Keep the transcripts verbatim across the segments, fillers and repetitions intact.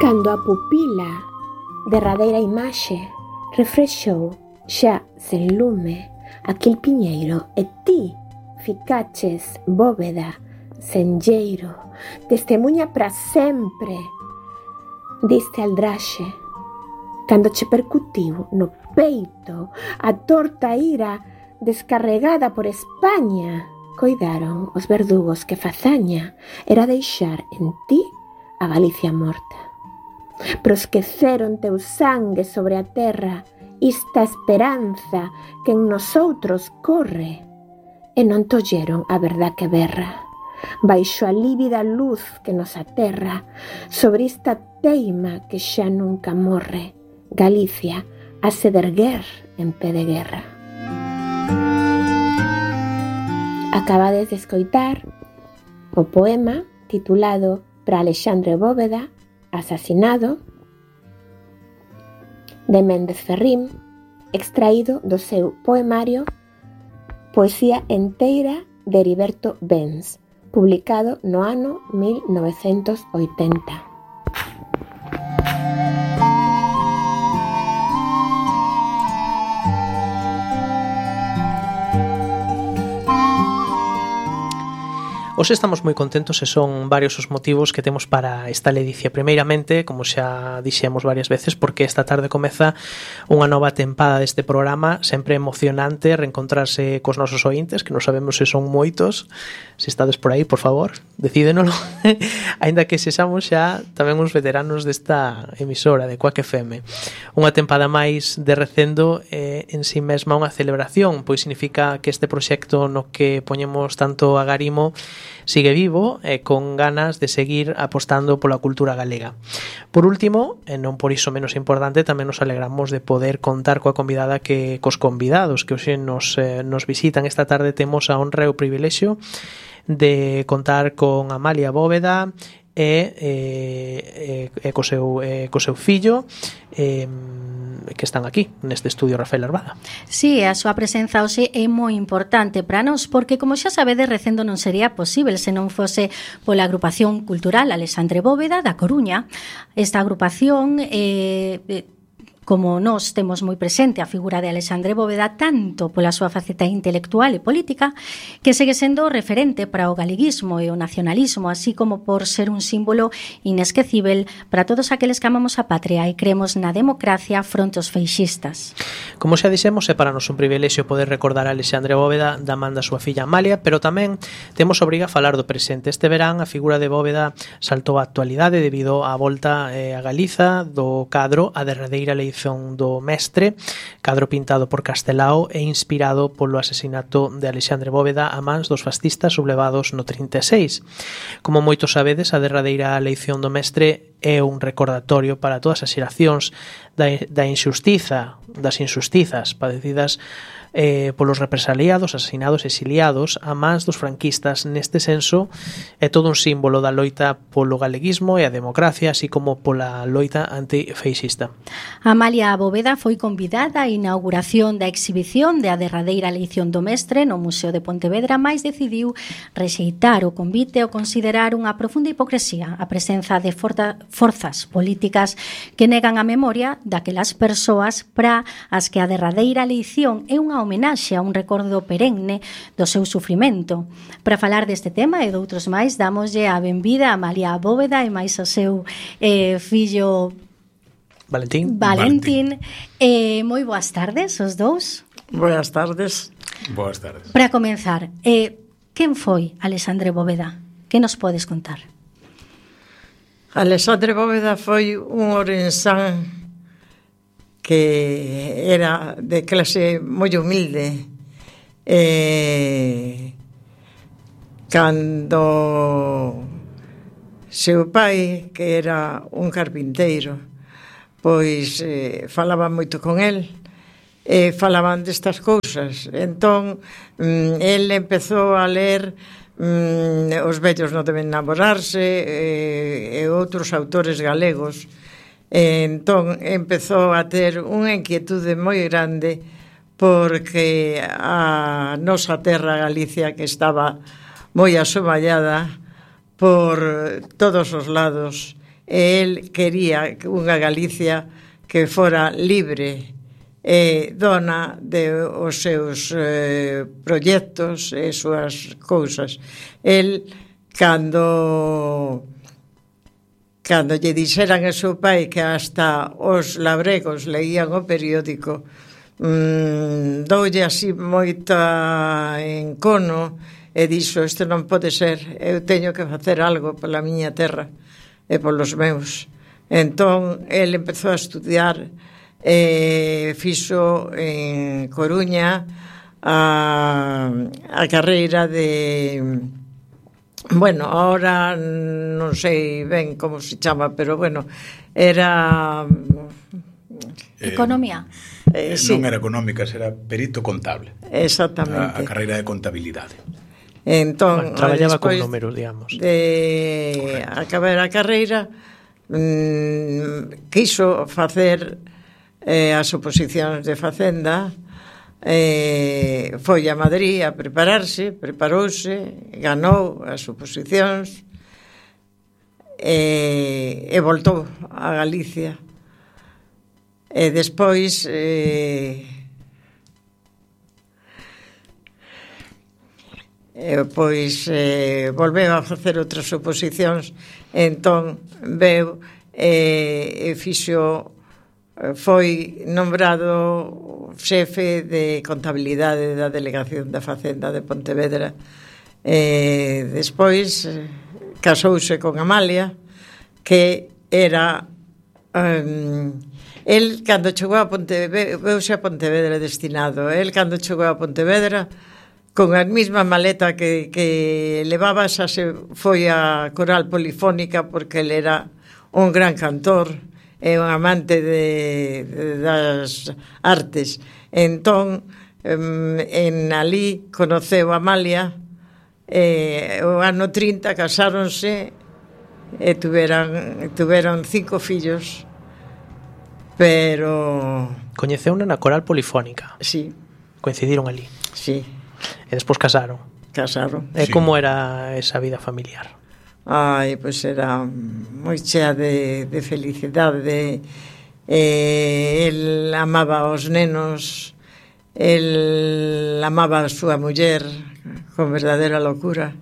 Cando a pupila, derradeira imaxe, refrexou xa sen lume aquel piñeiro e ti ficaches bóveda, senlleiro, testemunha para sempre diste aldraxe, cando che percutiu no peito a torta ira descarregada por España, coidaron os verdugos que fazaña era deixar en ti a Galicia morta. Prosqueceron teu sangue sobre a terra, esta esperanza que en nosotros corre, e non tolleron a verdad que berra. Baixo a lívida luz que nos aterra, sobre esta teima que xa nunca morre, Galicia a se derguer en pé de guerra. Acabades de escoitar o poema titulado Para Alexandre Bóveda, asasinado, de Méndez Ferrín, extraído do seu poemario Poesía enteira de Heriberto Benz, publicado no ano mil novecentos oitenta. Hoxe estamos moi contentos e son varios os motivos que temos para esta ledicia. Primeiramente, como xa dixemos varias veces, porque esta tarde comeza unha nova tempada deste programa, sempre emocionante reencontrarse cos nosos ointes, que non sabemos se son moitos. Se estades por aí, por favor, decídenolo. Aínda que sexamos xa tamén uns veteranos desta emisora de Quack F M. Unha tempada máis de recendo é en si mesma unha celebración, pois significa que este proxecto no que poñemos tanto agarimo sigue vivo e con ganas de seguir apostando pola cultura galega. Por último, e non por iso menos importante, tamén nos alegramos de poder contar coa convidada que cos convidados que hoxe nos, eh, nos visitan esta tarde. Temos a honra e o privilexio de contar con Amalia Bóveda e, e, e co, seu, e co seu fillo e, que están aquí neste estudio, Rafael Arbada. Sí, a súa presenza hoxe é moi importante para nós, porque como xa sabedes, recendo non sería posible se non fose pola agrupación cultural Alexandre Bóveda da Coruña. Esta agrupación eh, como nós temos moi presente a figura de Alexandre Bóveda tanto pola súa faceta intelectual e política, que segue sendo referente para o galeguismo e o nacionalismo, así como por ser un símbolo inesquecível para todos aqueles que amamos a patria e creemos na democracia fronte aos feixistas. Como xa dixemos, é para nos un privilexio poder recordar a Alexandre Bóveda da man da súa filla Amalia, pero tamén temos obriga a falar do presente. Este verán a figura de Bóveda saltou á actualidade debido á volta eh, a Galiza do cadro a derradeira lei do Mestre, cadro pintado por Castelao e inspirado polo asesinato de Alexandre Bóveda a mans dos fascistas sublevados no trinta e seis. Como moitos sabedes, a derradeira eleición do Mestre é un recordatorio para todas as xeracións da, da injustiza, das injustizas padecidas eh, polos represaliados, asesinados e exiliados a mans dos franquistas. Neste senso, é todo un símbolo da loita polo galeguismo e a democracia, así como pola loita antifeixista. Amalia Bóveda foi convidada á inauguración da exhibición de a derradeira eleición do Mestre no Museo de Pontevedra, mais decidiu rexeitar o convite e considerar unha profunda hipocresía a presenza de forza, forzas políticas que negan a memoria daquelas persoas para as que a derradeira eleición é unha homenaxe a un recordo perenne do seu sufrimento. Para falar deste tema e doutros máis, damoslle a benvida a Amalia Bóveda e máis ao seu eh, fillo Valentín. Valentín. Eh, moi boas tardes, os dous. Boas tardes. Boas tardes. Para comenzar, eh, quen foi Alexandre Bóveda? Que nos podes contar? Alexandre Bóveda foi un orensán que era de clase moi humilde. E cando seu pai, que era un carpinteiro, pois eh, falaba moito con el e falaban destas cousas. Entón, mm, el empezou a ler mm, Os vellos non deben namorarse e, e outros autores galegos. E entón empezou a ter unha inquietude moi grande porque a nosa terra Galicia, que estaba moi asomallada por todos os lados, e el quería unha Galicia que fora libre e dona de os seus eh, proxectos e súas cousas. El, cando cando lle dixeran a seu pai que hasta os labregos leían o periódico, mmm, doulle así moita encono e dixo, isto non pode ser, eu teño que facer algo pola miña terra e polos meus. Entón, el empezou a estudiar e fixo en Coruña a, a carreira de, bueno, ahora non sei ben como se chama, pero bueno, era economía. Eh, sí. Non era económica, era perito contable. Exactamente. A, a carreira de contabilidade. Entón, bueno, traballaba con despois números, digamos. De acabar a carreira, mmm, quiso facer eh, as oposicións de Facenda, eh, foi a Madrid a prepararse, preparouse, ganou as oposicións e, e voltou a Galicia. E despois eh, e, pois eh, volveu a facer outras oposicións, entón veu e, e fixo, foi nombrado xefe de contabilidade da Delegación da Facenda de Pontevedra. E despois casouse con Amalia, que era um, el cando chegou a Pontevedra, veuse a Pontevedra destinado, el cando chegou a Pontevedra con a mesma maleta que, que levaba, xa se foi a Coral Polifónica, porque el era un gran cantor e un amante de, de, das artes. Entón, en alí conoceu a Amalia, e o ano trinta casáronse e tuveran, tuveron cinco fillos, pero... Coñeceuna na Coral Polifónica. Sí. Coincidiron ali. Sí. E despois casaron. Casaron. E Sí. como era esa vida familiar? Ai, pois era moi chea de, de felicidade. Eh, el amaba aos nenos, el amaba a súa muller con verdadeira locura.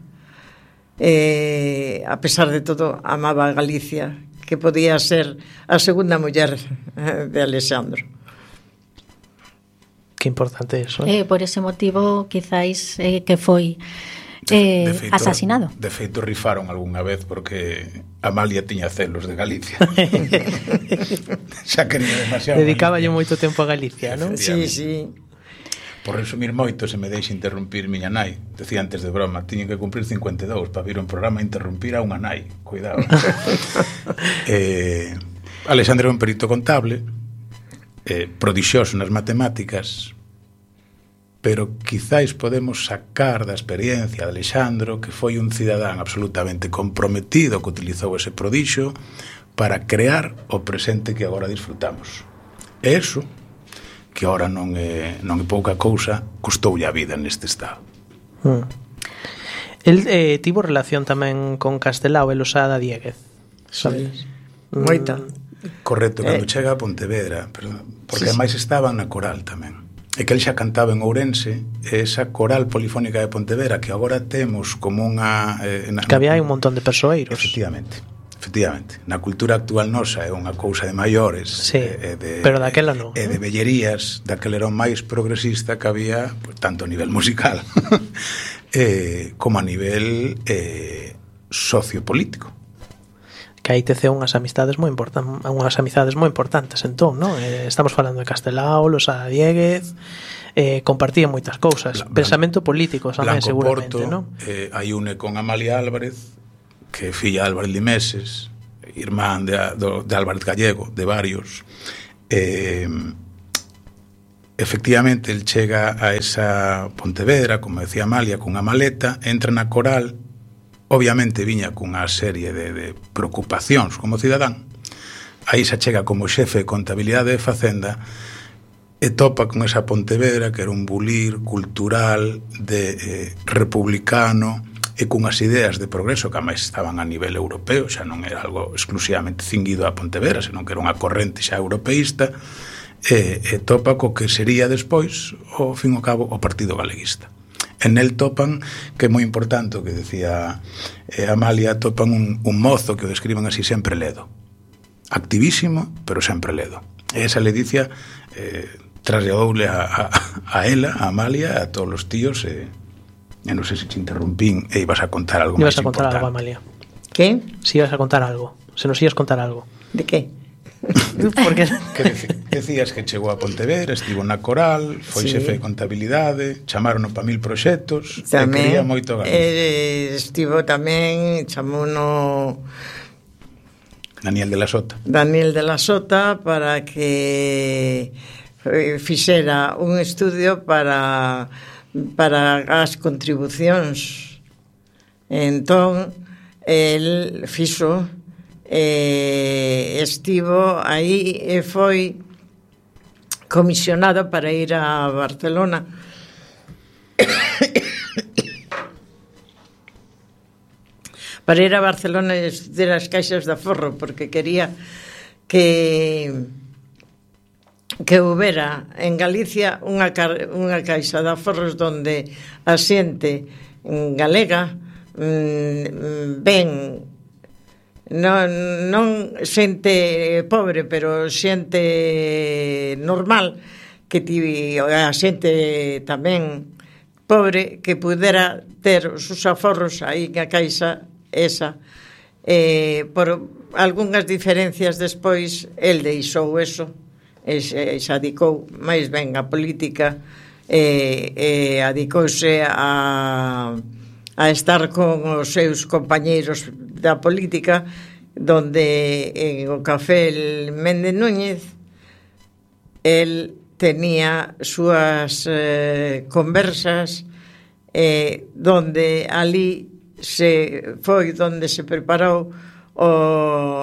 Eh, a pesar de todo, amaba a Galicia, que podía ser a segunda muller de Alexandro. Que importante eso, eh? Eh, por ese motivo, quizáis eh, que foi eh, de feito, asasinado. De feito, rifaron algunha vez porque Amalia tiña celos de Galicia. Xa quería demasiado. Dedicáballe moito tempo a Galicia, non? Sí, sí. Por resumir moito, se me deixa interrumpir miña nai, decía antes de broma, tiñen que cumprir cincuenta e dous para vir un programa a interrumpir a unha nai. Cuidado. eh, Alexandre é un perito contable, eh, prodixioso nas matemáticas, pero quizáis podemos sacar da experiencia de Alexandro que foi un cidadán absolutamente comprometido que utilizou ese prodixio para crear o presente que agora disfrutamos. E eso, que agora non é, non é pouca cousa, custoulle a vida neste estado. Mm. El eh, tivo relación tamén con Castelao e Losada Dieguez, sabes? Sí. Moita. Correcto, cando Eh. chega a Pontevedra, perdón, porque Sí, sí. ademais estaban na coral tamén. E que el xa cantaba en Ourense, e esa coral polifónica de Pontevedra que agora temos como unha... Eh, na, Que había un montón de persoeiros. Efectivamente, efectivamente. Na cultura actual nosa é unha cousa de maiores, Sí, e, e de, pero daquela non. E de vellerías, daquela era o máis progresista que había, pues, tanto a nivel musical eh, como a nivel eh, sociopolítico. Que aí teceu unhas amistades moi importantes, unhas amizades moi importantes, entón, non? Eh, estamos falando de Castelao, Losada Dieguez, eh, compartían moitas cousas, Blan- pensamento político tamén, Blanco seguramente, Porto, non? eh, hai une con Amalia Álvarez, que é filla de Álvarez Limeses, irmán de, do, de Álvarez Gallego, de varios. Eh, efectivamente, el chega a esa Pontevedra, como decía Amalia, cunha maleta, entra na coral, obviamente viña cunha serie de, de preocupacións como cidadán. Aí se chega como xefe de contabilidade de Facenda e topa con esa Pontevedra que era un bulir cultural de eh, republicano e cunhas ideas de progreso que máis estaban a nivel europeo, xa non era algo exclusivamente cinguido a Pontevedra, senón que era unha corrente xa europeísta, e, e topa co que sería despois, ao fin e ao cabo, o Partido Galeguista. En el topan, que é moi importante o que decía eh, Amalia, topan un, un mozo que o describen así sempre ledo, activísimo, pero sempre ledo. E esa ledicia eh, trasladoule a, a, a ela, a Amalia, a todos os tíos, e, e non sei se te interrumpín e ibas a contar algo máis importante. Ibas a contar algo, Amalia. Que? Si ibas a contar algo, se nos ibas contar algo. De que? Porque que decías que chegou a Pontevedra, estivo na Coral, foi sí. xefe de contabilidade, chamarono para mil proxectos, tamén, e quería moito Galicia. Eh, estivo tamén, chamouno Daniel de la Sota. Daniel de la Sota para que fixera un estudio para para as contribucións. Entón, el fixo eh, estivo aí e foi comisionado para ir a Barcelona para ir a Barcelona e estudar as caixas de aforro, porque quería que que houbera en Galicia unha, unha caixa de aforros donde a xente galega mmm, ben non, non xente pobre, pero xente normal, que ti, a xente tamén pobre, que pudera ter os seus aforros aí na caixa esa. Eh, por algunhas diferencias despois, el deixou eso e se, se adicou máis ben a política, e, e adicouse a a estar con os seus compañeiros da política, donde en o café el Méndez Núñez el tenía súas eh, conversas, eh, donde ali se foi donde se preparou o,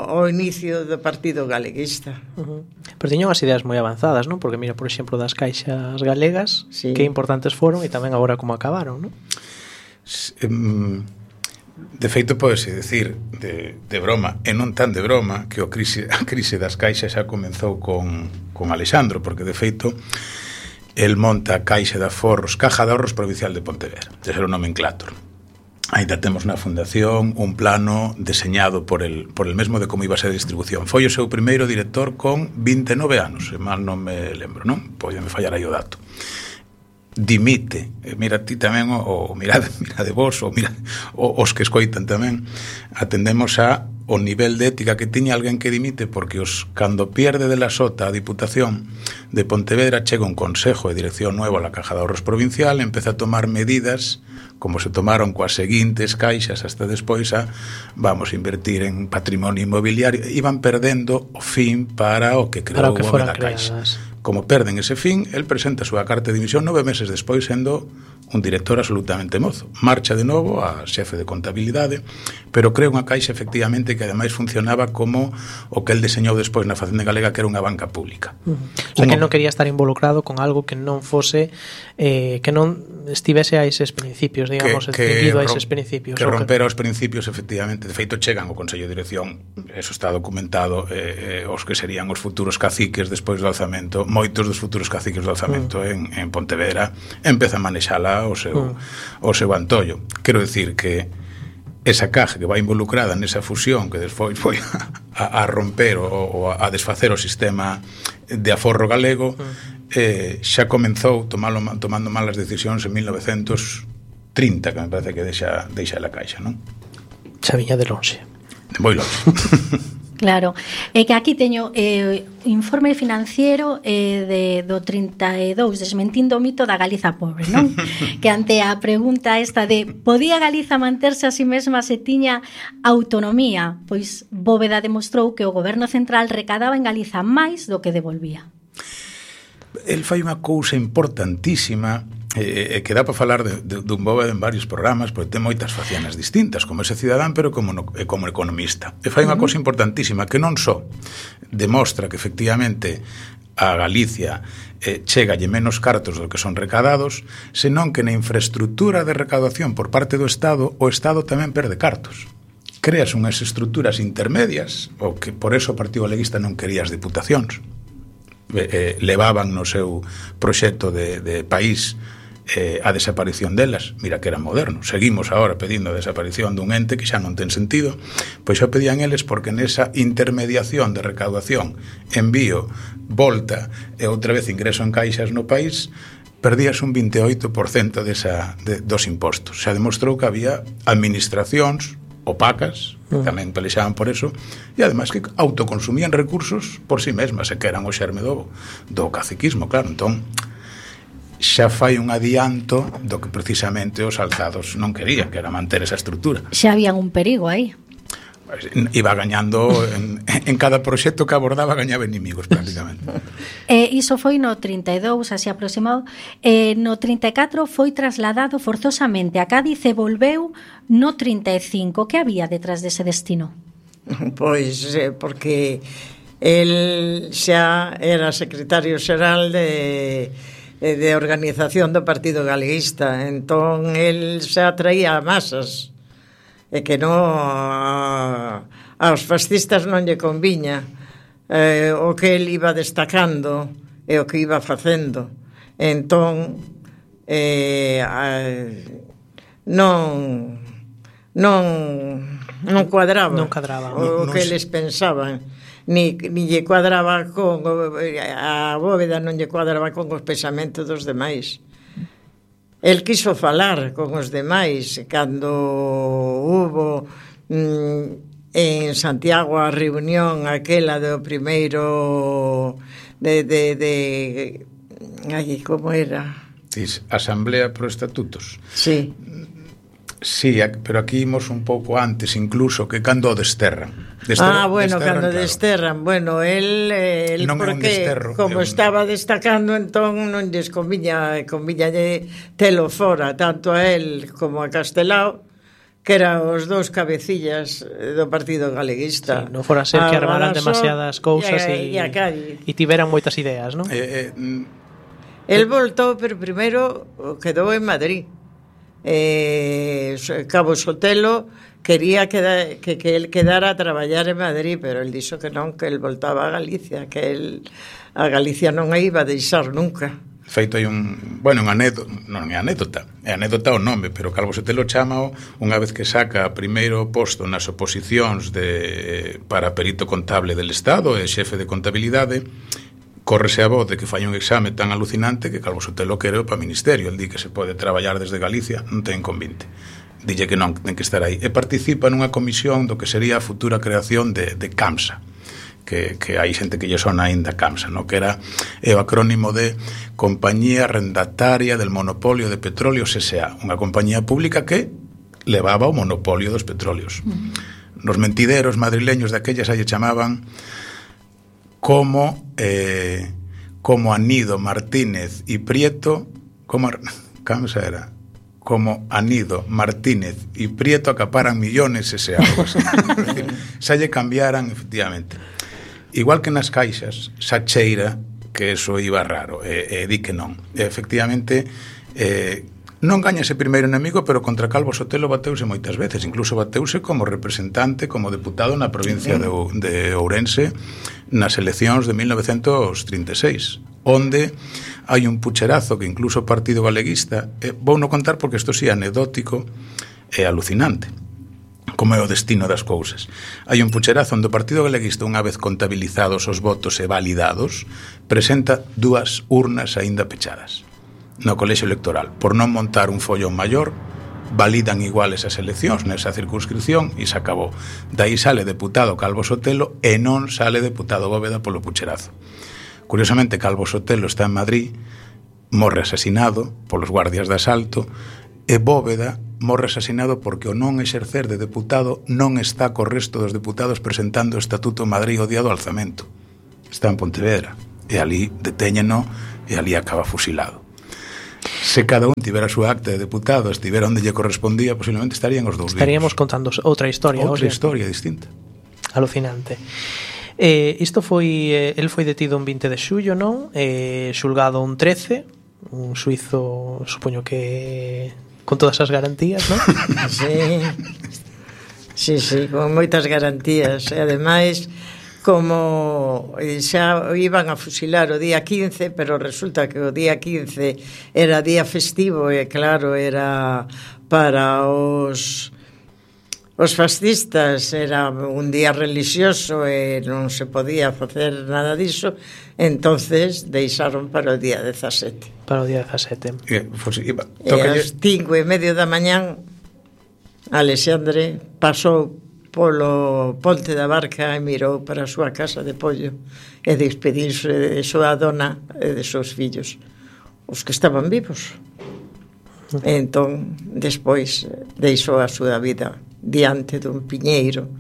o inicio do Partido Galeguista. Uh-huh. Pero tiñan as ideas moi avanzadas, non? Porque mira, por exemplo, das caixas galegas, sí, que importantes foron, e tamén agora como acabaron, non? De feito, podese decir de, de broma, e non tan de broma, que o crise, a crise das caixas xa comenzou con, con Alexandro, porque de feito el monta a Caixa de Aforros, Caja de Ahorros Provincial de Pontevedra, de ser o nomenclator. Ainda temos na fundación un plano deseñado por el, por el mesmo de como iba a ser a distribución. Foi o seu primeiro director con vinte e nove anos, se mal non me lembro, non? Podeme fallar aí o dato. Dimite, mira ti tamén, o, o mirade, mirade vos, o mira, o, os que escoitan tamén, atendemos a o nivel de ética que tiña alguén que dimite, porque os cando pierde de la Sota a Diputación de Pontevedra chega un consejo de dirección nuevo a la Caja de Ahorros Provincial, empeza a tomar medidas como se tomaron coas seguintes caixas hasta despois a vamos a invertir en patrimonio inmobiliario, iban perdendo o fin para o que creou o da Caixa. Como perden ese fin, el presenta a súa carta de dimisión nove meses despois, sendo un director absolutamente mozo. Marcha de novo a xefe de contabilidade, pero creo unha caixa efectivamente que ademais funcionaba como o que el deseñou despois na Facenda Galega, que era unha banca pública. Uh -huh. O sea, que non quería estar involucrado con algo que non fose eh, que non estivese a eses principios, digamos, seguido a eses principios. Que rompera os principios, efectivamente. De feito, chegan ao Consello de Dirección, eso está documentado, eh, eh, os que serían os futuros caciques despois do alzamento, moitos dos futuros caciques do alzamento uh -huh. en, en Pontevedra, empeza a manexala o seu, uh. o seu antollo. Quero dicir que esa caja que vai involucrada nesa fusión que despois foi a, a romper o, o a desfacer o sistema de aforro galego, uh. eh, xa comenzou tomalo, tomando malas decisións en mil novecentos trinta, que me parece que deixa, deixa la caixa, non? Xa viña de lonxe. De moi lonxe. Claro, é que aquí teño eh, informe financiero eh, de, do trinta e dous, desmentindo o mito da Galiza pobre, non? Que ante a pregunta esta de podía Galiza manterse a si mesma se tiña autonomía, pois Bóveda demostrou que o goberno central recadaba en Galiza máis do que devolvía. El fai unha cousa importantísima, e eh, que dá para falar de, de, dun Bóveda en varios programas, porque ten moitas facianas distintas como ese cidadán, pero como, no, como economista. E fai unha cousa importantísima que non só demostra que efectivamente a Galicia eh, chegalle menos cartos do que son recadados, senón que na infraestructura de recaudación por parte do Estado, o Estado tamén perde cartos. Creas unhas estructuras intermedias, o que por eso o Partido Galeguista non quería as diputacións. Eh, levaban no seu proxecto de, de país eh, a desaparición delas. Mira que era moderno. Seguimos agora pedindo a desaparición dun ente que xa non ten sentido. Pois xa pedían eles porque nesa intermediación de recaudación, envío, volta e outra vez ingreso en caixas no país, perdías un vinte e oito por cento desa, de, dos impostos. Xa demostrou que había administracións opacas, que tamén pelexaban por eso, e ademais que autoconsumían recursos por si sí mesmas, e que eran o xerme do, do caciquismo, claro. Entón, xa fai un adianto do que precisamente os alzados non querían, que era manter esa estrutura. Xa había un perigo aí. Iba gañando en, en cada proxecto que abordaba, gañaba inimigos prácticamente. Eh, iso foi no trinta e dous, así aproximado. eh, No trinta e catro foi trasladado forzosamente a Cádiz e volveu no trinta e cinco. Que había detrás dese destino? Pois eh, porque el xa era secretario xeral de de organización do Partido Galeguista, entón el xa traía masas, e que non aos fascistas non lle conviña eh, o que el iba destacando e o que iba facendo. Entón eh, non non non cuadraba, non cadraba o non, que non eles pensaban, ni, ni lle cuadraba con a Bóveda, non lle cuadraba con os pensamentos dos demais. El quiso falar con os demais cando hubo mm, en Santiago a reunión aquela do primeiro de, de, de ay, como era? Asamblea pro Estatutos. Sí. Sí, pero aquí imos un pouco antes incluso que cando o desterran. Desterran ah, bueno, desterran, cando claro. desterran. Bueno, el, el non porque desterro, como un... estaba destacando, entón non lles conviña, conviñalle telo fora, tanto a él como a Castelao, que eran os dous cabecillas do Partido Galeguista. Sí, non fora ser que armaran demasiadas cousas e, e, e tiveran moitas ideas, non? Eh, eh, el voltou, pero primeiro quedou en Madrid. Eh, Cabo Sotelo quería que, que, que él quedara a traballar en Madrid, pero él dixo que non, que él voltaba a Galicia, que él a Galicia non a iba a deixar nunca. Feito hai un, bueno, un anécdota, non é anécdota, é anécdota o nome, pero Calvo Sotelo chámao unha vez que saca primeiro posto nas oposicións de, para perito contable del Estado e xefe de contabilidade. Córrese a voz de que fai un exame tan alucinante que Calvo Sotelo quere para o ministerio. El di que se pode traballar desde Galicia, non ten convinte. Dille que non, ten que estar aí. E participa nunha comisión do que sería a futura creación de, de CAMSA, que, que hai xente que lle sona aínda CAMSA, no? Que era é o acrónimo de Compañía Arrendataria del Monopolio de Petróleos S A, unha compañía pública que levaba o monopolio dos petróleos. Uh-huh. Nos mentideros madrileños daquellas aí chamaban como eh, como Anido, Martínez y Prieto, como ¿cómo era? Como Anido, Martínez y Prieto acaparan millones, ese algo así. Xa lle cambiaran, efectivamente. Igual que nas caixas, xa cheira que eso iba raro, e, e di que non. E, efectivamente, eh, non gaña ese primeiro enemigo, pero contra Calvo Sotelo bateuse moitas veces, incluso bateuse como representante, como deputado na provincia de, de Ourense nas eleccións de mil novecentos trinta e seis, onde hai un pucherazo que incluso o Partido Galeguista, eh, vou non contar porque isto sí é anecdótico e alucinante, como é o destino das cousas. Hai un pucherazo onde o Partido Galeguista, unha vez contabilizados os votos e validados, presenta dúas urnas aínda pechadas no colexio electoral, por non montar un follón maior, validan iguales as eleccións nesa circunscripción e se acabou. Daí sale deputado Calvo Sotelo e non sale deputado Bóveda polo pucherazo. Curiosamente, Calvo Sotelo está en Madrid, morre asesinado polos guardias de asalto, e Bóveda morre asesinado porque o non exercer de deputado non está co resto dos deputados presentando o Estatuto en Madrid o día do alzamento. Está en Pontevedra, e ali detéñeno e ali acaba fusilado. Se cada un tivera a súa acta de deputado, estivera onde lle correspondía, posiblemente estarían os dous vivos. Estaríamos contando outra historia. Outra Oxe. historia distinta. Alucinante. Eh, isto foi, eh, el foi detido un vinte de xullo, non? Eh, xulgado un trece, un suizo, supoño que con todas as garantías, non? Sí, sí, sí, con moitas garantías. E ademais, como xa iban a fusilar o día quince, pero resulta que o día quince era día festivo e claro, era para os os fascistas, era un día religioso e non se podía facer nada diso, entonces deixaron para o día dezasete. Para o día dezasete. E, pues, iba, E ás cinco e medio da mañán Alexandre pasou polo Ponte da Barca e mirou para a súa casa de pollo e despediuse de súa dona e de seus fillos, os que estaban vivos. E entón, despois, deixou a súa vida diante dun piñeiro,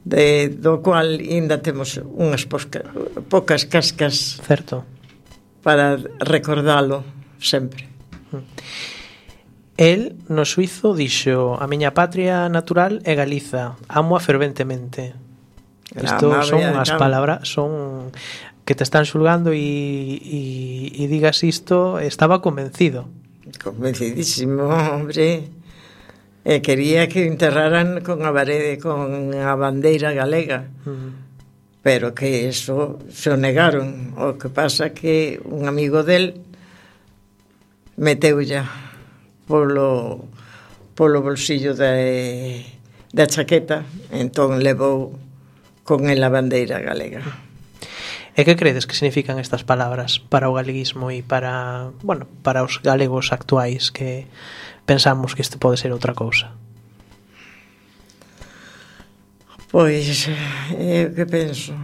de, do cual ainda temos unhas posca, poucas cascas, certo, para recordalo sempre. El, no suizo, dixo: a miña patria natural é Galiza, amo-a ferventemente. Isto son as palabras, son que te están xulgando e, e, e digas isto, estaba convencido. Convencidísimo, hombre. E quería que enterraran con a parede, con a bandeira galega. Uh-huh. Pero que eso se o negaron. O que pasa que un amigo del meteu ya polo, polo bolsillo de, da chaqueta, entón levou con el a bandeira galega. E que credes que significan estas palabras para o galeguismo e para, bueno, para os galegos actuais que pensamos que isto pode ser outra cousa? Pois, é o que penso.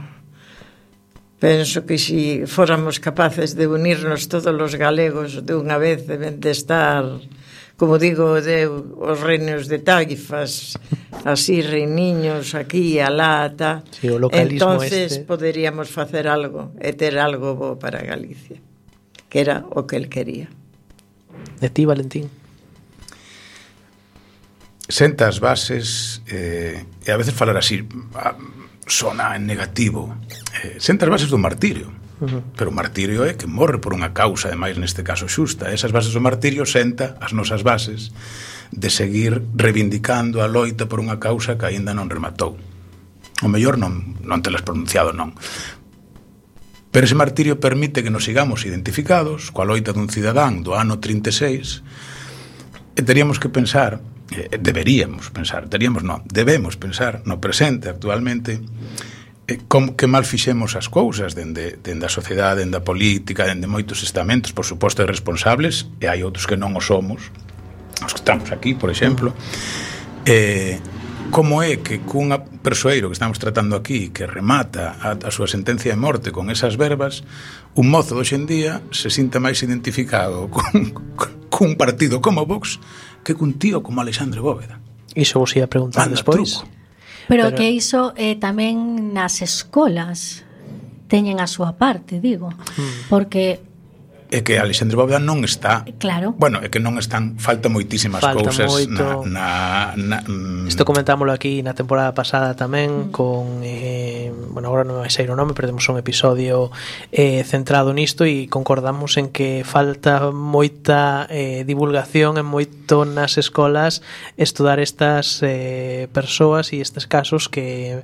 Penso que se fóramos capaces de unirnos todos os galegos de unha vez, deben de estar, como digo, de os reinos de taifas, así reiniños aquí e alá, ta. Sí, o localismo entonces este. Poderíamos facer algo e ter algo bo para Galicia, que era o que el quería. De ti, Valentín? Senta as bases, eh, e a veces falar así sona en negativo, eh, senta as bases do martirio. Uh-huh. Pero o martirio é que morre por unha causa, ademais neste caso xusta. Esas bases do martirio senta as nosas bases de seguir reivindicando a loita por unha causa que aínda non rematou. O mellor non, non telas pronunciado, non. Pero ese martirio permite que nos sigamos identificados coa loita dun cidadán do ano trinta e seis, e teríamos que pensar, eh, deberíamos pensar, teríamos non, debemos pensar no presente actualmente, eh, como que mal fixemos as cousas dende, dende a sociedade, dende a política, dende moitos estamentos, por suposto, responsables, e hai outros que non o somos, os que estamos aquí, por exemplo, eh, como é que cunha persoeiro que estamos tratando aquí, que remata a, a súa sentencia de morte con esas verbas, un mozo de hoxendía se sinta máis identificado con, con un partido como Vox que cun tío como Alexandre Bóveda. Iso vos ia preguntar despois. Pero, Pero que iso eh, tamén nas escolas teñen a súa parte, digo, hmm. porque é que Alexandre Bóveda non está, claro. Bueno, é que non están, falta moitísimas falta cousas moito. na, na, na mm. Isto comentámoslo aquí na temporada pasada tamén mm. con eh, bueno, agora non vai sair o nome, pero temos un episodio eh, centrado nisto e concordamos en que falta moita eh, divulgación en moito nas escolas estudar estas eh, persoas e estes casos que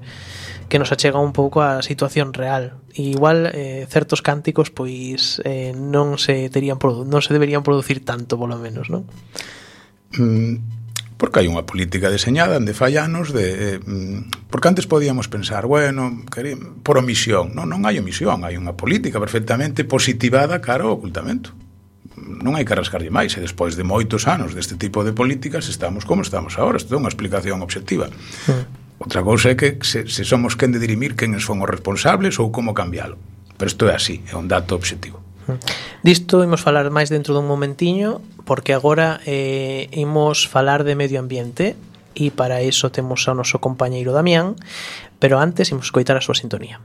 que nos achega un pouco a situación real. E igual eh, certos cánticos pois eh, non se terían produ- non se deberían producir tanto, polo menos, non? Mm, porque hai unha política deseñada de fai anos de, eh, porque antes podíamos pensar, bueno, querí, por omisión, non, non hai omisión, hai unha política perfectamente positivada cara ao ocultamento. Non hai que rascarlle máis, e despois de moitos anos deste tipo de políticas estamos como estamos agora. Isto é unha explicación obxectiva. Mm. Outra cousa é que se, se somos quen de dirimir quen son os responsables ou como cambialo. Pero isto é así, é un dato obxectivo. Disto imos falar máis dentro dun momentiño, porque agora eh, imos falar de medio ambiente e para iso temos ao noso compañeiro Damián, pero antes imos escoitar a súa sintonía.